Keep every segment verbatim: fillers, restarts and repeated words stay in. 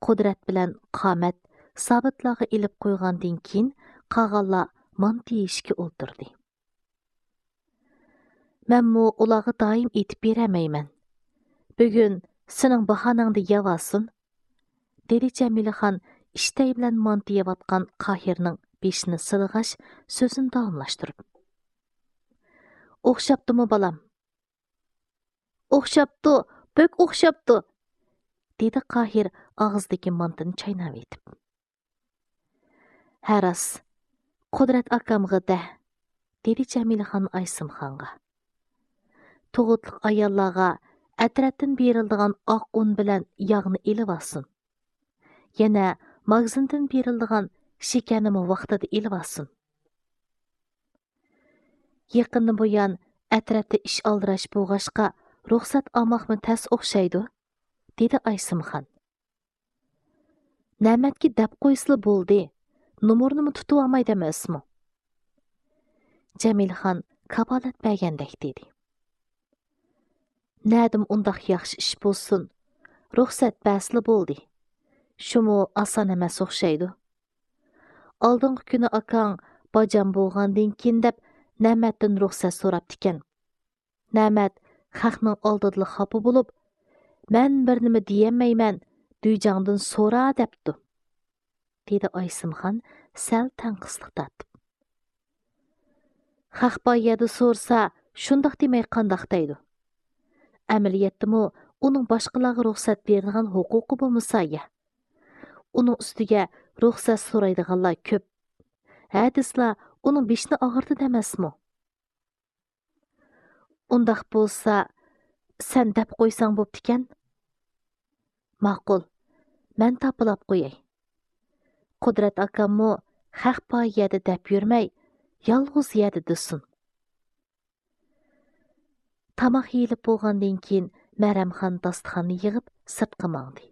قۇدرەت بىلەن قامەت سابىتلارغا ئېلىپ قويغاندىن كېيىن، قالغانلار مانتا يېيىشكە ئولتۇردى. مەنمۇ ئۇلارغا دائىم ئېيتىپ بېرەلمەيمەن. بۈگۈن سېنىڭ باھانەڭدە يەۋالسۇن، دېدى جەمىلىخان ئىشتەي بىلەن مانتا يەۋاتقان قاھىرنىڭ بېشىنى سىلىغاچ، سۆزىنى داۋاملاشتۇرۇپ. ئوخشاپتۇمۇ، بالام؟ ئوخشاپتۇ، بەك ئوخشاپتۇ، دېدى قاھىر ئاغزىدىكى مانتىنى چايناۋېتىپ. ھە راست، قۇدرەت ئاكامغا دە، دېدى جەمىلىخان ئايسىمخانغا. تۇغۇتلۇق ئاياللارغا ئەترەتتىن بېرىلىدىغان ئاق ئۇن بىلەن ياغنى ئېلىۋالسۇن. يەنە ماگىزىندىن بېرىلىدىغان شېكەرنىمۇ ۋاقتىدا ئېلىۋالسۇن. يېقىندىن بۇيان ئەترەتتە ئىش ئالدىراش بولغاچقا، رۇخسەت ئالماقمۇ تەس ئوخشايدۇ، دېدى ئايسىمخان. نەمەتكە دەپ قويسىلا بولدى، نومۇرنىمۇ تۇتۇۋالمايدۇ ئەمەسمۇ؟ جەمىلخان كاپالەت بەرگەندەك دېدى. نەدىمۇ ئۇنداق ياخشى ئىش بولسۇن، رۇخسەت بەرسىلا بولدى. شۇمۇ ئاسان ئەمەس ئوخشايدۇ. ئالدىنقى كۈنى ئاكاڭ باجام بولغاندىن كېيىن دەپ نەمەتتىن رۇخسەت سوراپتىكەن. نەمەت خەقنىڭ ئالدىدىلا خاپا بولۇپ، مەن بىر نېمە دېيەلمەيمەن، دۈيجاڭدىن سورا دەپتۇ، دېدى ئايسىمخان سەل تەڭقىسلىق تارتىپ. خەق بار يەردە سورىسا، شۇنداق دېمەي قانداق دەيدۇ؟ ئەمەلىيەتتىمۇ ئۇنىڭ باشقىلارغا رۇخسەت بېرىدىغان ھوقۇقى بولمىسا يا. ئۇنىڭ ئۈستىگە رۇخسەت سورايدىغانلار كۆپ. ھە دېسىلا، ئۇنىڭ بېشىنى ئاغرىتىدۇ ئەمەسمۇ؟ ئۇنداق بولسا، سەن دەپ قويساڭ بوپتىكەن. ماقۇل، مەن تاپىلاپ قوياي. قۇدرەت ئاكاممۇ خەق بار يەردە دەپ يۈرمەي، يالغۇز يەردە دېسۇن. تاماق يېيىلىپ بولغاندىن كېيىن، مەرەمخان داستىخاننى يىغىپ سىرتقا ماڭدى.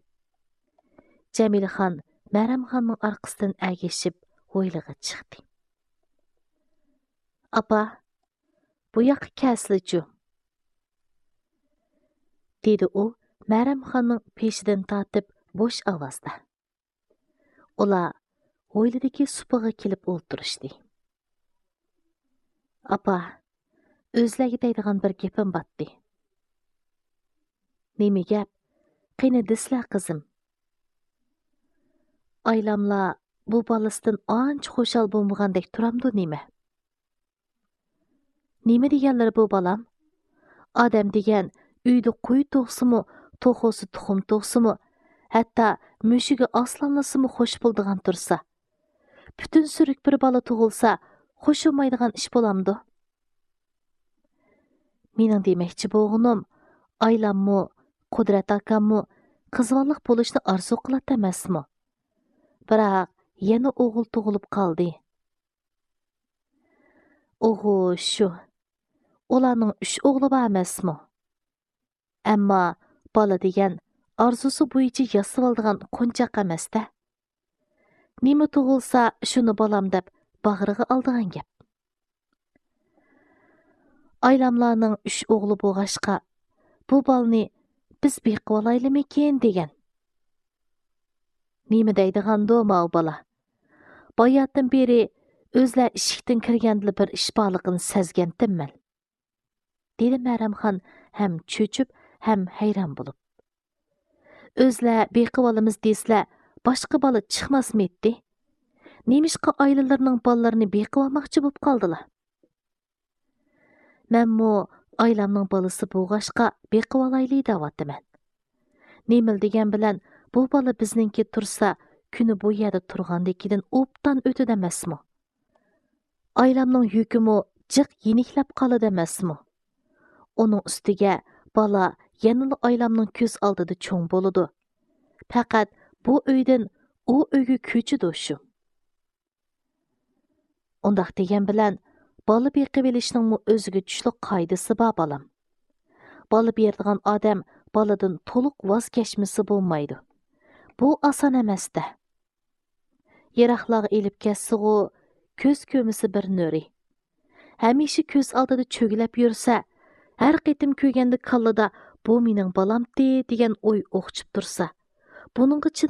جەمىلىخان مەرەمخاننىڭ ئارقىسىدىن ئەگىشىپ ھويلىغا چىقتى. ئاپا، بۇ ياققا كەلسىلىچۇ، دېدى ئۇ مەرەمخاننىڭ پېشىدىن تارتىپ بوش ئاۋازدا. ئۇلار ھويلىدىكى سۇپىغا كېلىپ ئولتۇرۇشتى. ئاپا، ئۆزلەرگە دەيدىغان بىر گېپىم باتتى. نېمە گەپ؟ قېنى دېسىلە، قىزىم. ئايلاملار بۇ بالىسىدىن ئانچە خۇشال بولمىغاندەك تۇرامدۇ نېمە؟ نېمە دېگەنلىرى بۇ، بالام؟ ئادەم دېگەن ئۆيدە قوي تۇغسىمۇ، توخۇسى تۇخۇم تۇغسىمۇ، ھەتتا مۈشۈكى ئاسلانلىسىمۇ خوش بولىدىغان تۇرسا، پۈتۈن سۈرۈك بىر بالا تۇغۇلسا، خوش بولمايدىغان ئىش بولامدۇ؟ مېنىڭ دېمەكچى بولغىنىم، ئايلاممۇ، قۇدرەت ئاكاممۇ قىزۋاللىق بولۇشنى ئارزۇ قىلاتتى ئەمەسمۇ؟ بىراق يەنە ئوغۇل تۇغۇلۇپ قالدى. ئوغۇ شۇ. ئۇلارنىڭ ئۈچ ئوغلى بار ئەمەسمۇ؟ ئەمما بالا دېگەن ئارزۇسى بويىچە ياسىۋالىدىغان قونچاق ئەمەستە. نېمە تۇغۇلسا، شۇنى بالام دەپ باغرىغا ئالىدىغان گەپ. ئايلاملارنىڭ ئۈچ ئوغلى بولغاچقا، بۇ بالىنى بىز بېقىۋالايلىمىكىن دېگەن. نېمە دەيدىغاندۇ ماۋۇ بالا؟ باياتىن بېرى ئۆزلەر ئىشىكتىن كىرگەندىلا بىر ئىش بارلىقىنى سەزگەنتىم مەن، دېدى مەرەمخان ھەم چۆچۈپ، ھەم ھەيران بولۇپ. ئۆزلەر بېقىۋالىمىز دېسىلە، باشقا بالا چىقماسمىدى؟ نېمىشقا ئائىلىلىرىنىڭ بالىلىرىنى بېقىۋالماقچى بولۇپ قالدىلا؟ مەنمۇ ئايلامنىڭ بالىسى بولغاچقا، بېقىۋالايلى دەۋاتىمەن. نېمىلا دېگەن بىلەن، بۇ بالا بىزنىڭكى تۇرسا، كۈنى بۇ يەردە تۇرغاندىكىدىن ئوبدان ئۆتىدۇ ئەمەسمۇ؟ ئايلامنىڭ يۈكىمۇ جىق يېنىكلەپ قالىدۇ ئەمەسمۇ؟ ئۇنىڭ ئۈستىگە بالا يەنىلا ئايلامنىڭ كۆز ئالدىدا چوڭ بولىدۇ. پەقەت بۇ ئۆيدىن ئۇ ئۆيگە كۆچىدۇ شۇ. ئۇنداق دېگەن بىلەن، بالا بېقىۋېلىشنىڭمۇ ئۆزىگە چۈشلۈك قائىدىسى بار، بالام. بالا بېرىدىغان ئادەم بالىدىن تولۇق ۋاز كەچمىسە بولمايدۇ. بۇ ئاسان ئەمەستە. يىراقلارغا ئېلىپ كەتسىغۇ، كۆز كۆرمىسە بىر نۆرى. ھەمىشە كۆز ئالدىدا چۆگىلەپ يۈرسە، ھەر قېتىم كۆرگەندە كاللىدا «بۇ مېنىڭ بالامتى» دېگەن ئوي ئوخچۇپ تۇرسا، بۇنىڭغا چىدىماي